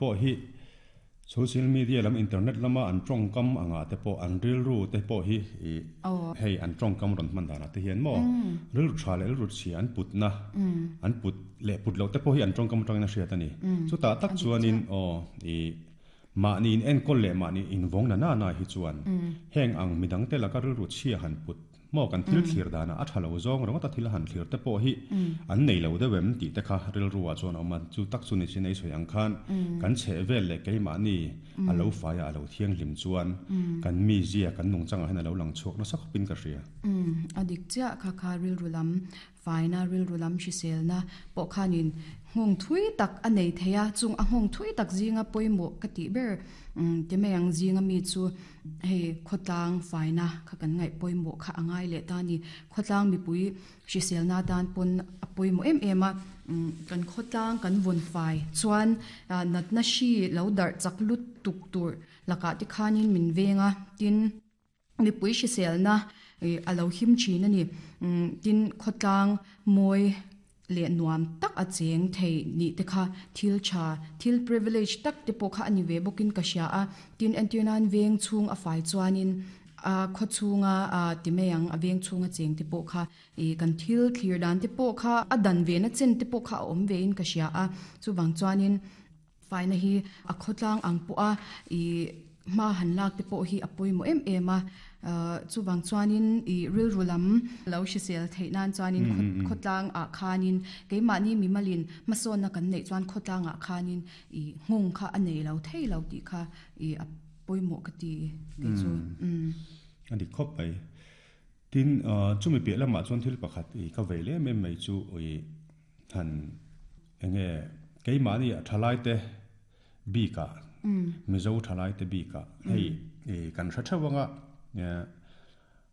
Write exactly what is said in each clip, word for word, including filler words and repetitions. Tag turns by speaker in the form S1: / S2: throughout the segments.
S1: pawh hi social media lam internet lama an tawngkam anga te pawh an rilru te pawh hi i hei an tawngkam rawn hman danah te hian maw rilru tha leh rilru chhia an putna an put leh put loh te pawh hi an tawngkam atangin a hriat a ni. Chutah tak chuanin aw i mahni in enkawl leh mahni invawng na na na hi chuan heng ang midang te laka rilru chhia han put maw kan thil thlir danah a tha lo zawng ringawt a thil han thlir te pawh hi an nei lo deuh em tih te kha rilru ah chuan a awm a, chu tak chu ni sin ei sawi ang khan kan chheh vel leh keimahni a lo fai a, a lo thianghlim chuan kan mizia kan nungchangah hian a lo lang chhuak nasa khawpin ka hria.
S2: A dik chiah kha kha rilru lam faina rilru lam hriselna pawh khanin nghawng thui tak a nei thei a, chung a nghawng thui tak zinga pawimawh ka tih ber ti mai ang zinga mi chu hei khawtlang faina kha kan ngaih pawimawh kha a ngai leh ta a ni. Khawtlang mipui hriselna tan pawn a pawimawh em em a, kan khawtlang kan vawn fai chuan natna hri lo darh chak lut tuk tur lakah te khanin min veng a, tin mipui hriselna a lo him thin a ni. Tin khawtlang mawi leh nuam tak a cheng thei nih te kha thil tha, thil privilege tak te pawh kha a ni ve bawkin ka hria a. Tin entir nan veng chhung a fai chuanin a khaw chhunga ti mai ang a veng chhunga cheng te pawh kha ih kan thil thlir dan te pawh kha a dan ve na chen te pawh kha a awm ve in ka hria a. Chuvang chuanin faina hi a khawtlang ang pawh a ih hma han lak te pawh hi a pawimawh em em a, chuvang chuanin ih rilru lam lo hrisel theih nan chuanin khawtlang ah khanin keimahni mimalin hmasawnna kan neih chuan khawtlang ah khanin ih nghawng kha a nei lo thei lo tih kha ih a pawimawh ka ti kei chu.
S1: A dik khawp mai. Tin chumi piah lamah chuan thil pakhat ih ka vei lem em mai chu ih han enge keimahni a thalai te bikah Mizo thalai te bikah hei kan hre theuh anga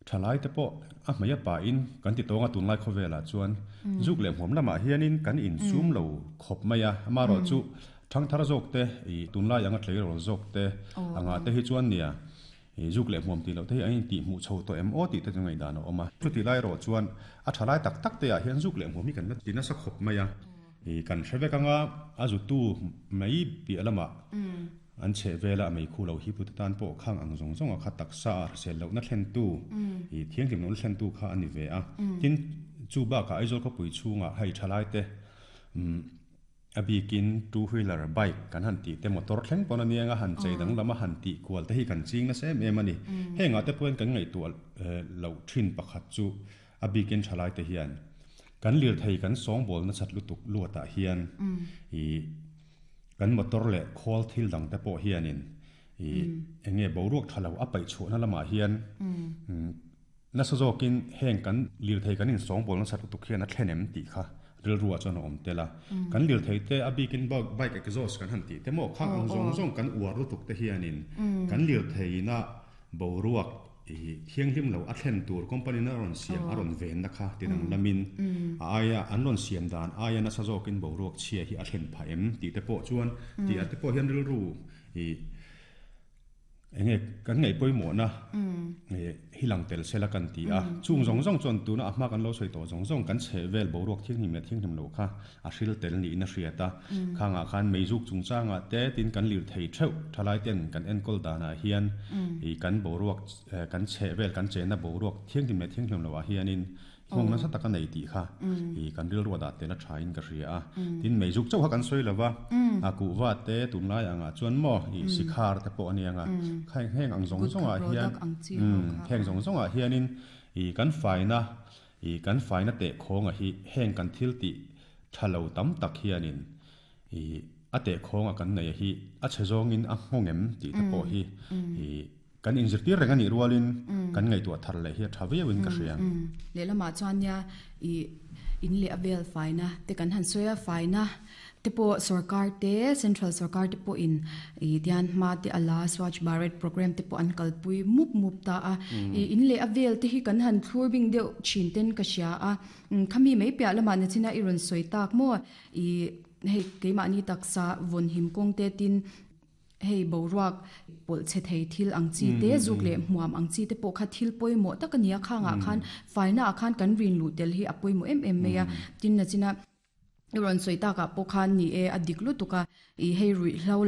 S1: thalai te pawh a hmei a pahin kan ti tawng a tunlai khawvelah chuan zuk leh hmuam lamah hianin kan insum lo khawp mai a, amaherawh chu thangthar zawk te tunlai anga tleirawl zawk te angah te hi chuan nia zuk leh hmuam tih loh te hi an intih hmuh chho tawh em aw tih te chu ngaihdan a awm a. Chutih lai erawh chuan a thalai tak tak te ah hian zuk leh hmuam hi kan la ti nasa khawp mai a. Kan hre vek anga a zutu mai piah lamah an chheh vela mei khu lo hi pute tan pawh khang ang zawng zawng a kha taksa a hrisel lohna thlentu thianghlim lohna thlentu kha a ni ve a. Tin, chu bakah Aizawl khawpui chhungah hei thalai te a bikin two wheeler bike kan han tih te motor thleng pawn a nia anga han chei danglam a han tih kual te hi kan ching nasa em em a ni. Hengah te pawhin kan ngaihtuah loh thin pakhat chu a bikin thalai te hian kan lirthei kan sawngbawl nasat lutuk luatah hian ih kan motor leh khawl thil dang te pawh hianin ih eng nge boruak tha lo a paih chhuahna lamah hian nasa zawkin heng kan lirthei kan insawngbawl nasat lutuk hian a thlen em tih kha rilruah chuan a awm tel a. Kan lirthei te a bikin bike exhaust kan han tih te maw khang ang zawng zawng kan uar lutuk te hianin kan lirtheina boruak I thianghlim lo a thlen tur company in a rawn siam a rawn venna kha ti dang lamin a aia an rawn siam dan aia nasa zawkin boruak chhia hi a thlen phah em tih te pawh chuan tih ah te pawh hian rilru i enge kan ngaih pawimawhna hi lang tel sela kan ti a. Chung zawng zawng chuan tuna a hma kan lo sawi tawh zawng zawng kan chheh vel boruak thianghlim leh thianghlim lo kha a hril tel niin a hriat a. Khangah khan meizuk chungchangah te tin kan lir thei theuh thalai ten kan enkawl danah hian ih kan boruak kan chheh vel kan chenna boruak thianghlim leh thianghlim loah hianin nghawng nasa tak a nei tih kha ih kan rilru a dah tel a thain ka hria a. Tin meizuk chauh kha kan sawi lova a kuhva te tunlai angah chuan maw ih sikhar te pawh a nia anga kha heng ang zawng zawngah hian heng zawng zawngah hianin ih kan faina ih kan faina teh khawnga hi heng kan thil tih tha lo tam tak hianin ih a teh khawnga kan nei hi a chhe zawngin a nghawng em tih te pawh hi ih kan inzirtir reng a nih rualin kan ngaihtuah thar leh hi a tha viauin ka hria.
S2: Lehlamah chuan nia ih in leh a vel faina te kan han sawi a, faina te pawh sorkar te central sorkar te pawhin ih tian hma te a la Swachh Bharat program te pawh an kalpui mup mup ta a. Ih in leh a vel te hi kan han thlur bing deuh thin ten ka hria a. Khami mai piah lamah nachina i rawn sawi tak maw ih hei keimahni taksa vawn him kawng te tin hei boruak pawlh chhe thei thil ang chi te zuk leh hmuam ang chi te pawh kha thil pawimawh tak a ni a, khangah khan faina ah khan kan rin luh tel hi a pawimawh em em mai a. Tin nachina i rawn sawi takah pawh khan ni e a dik lutuk a, ih hei ruihhlo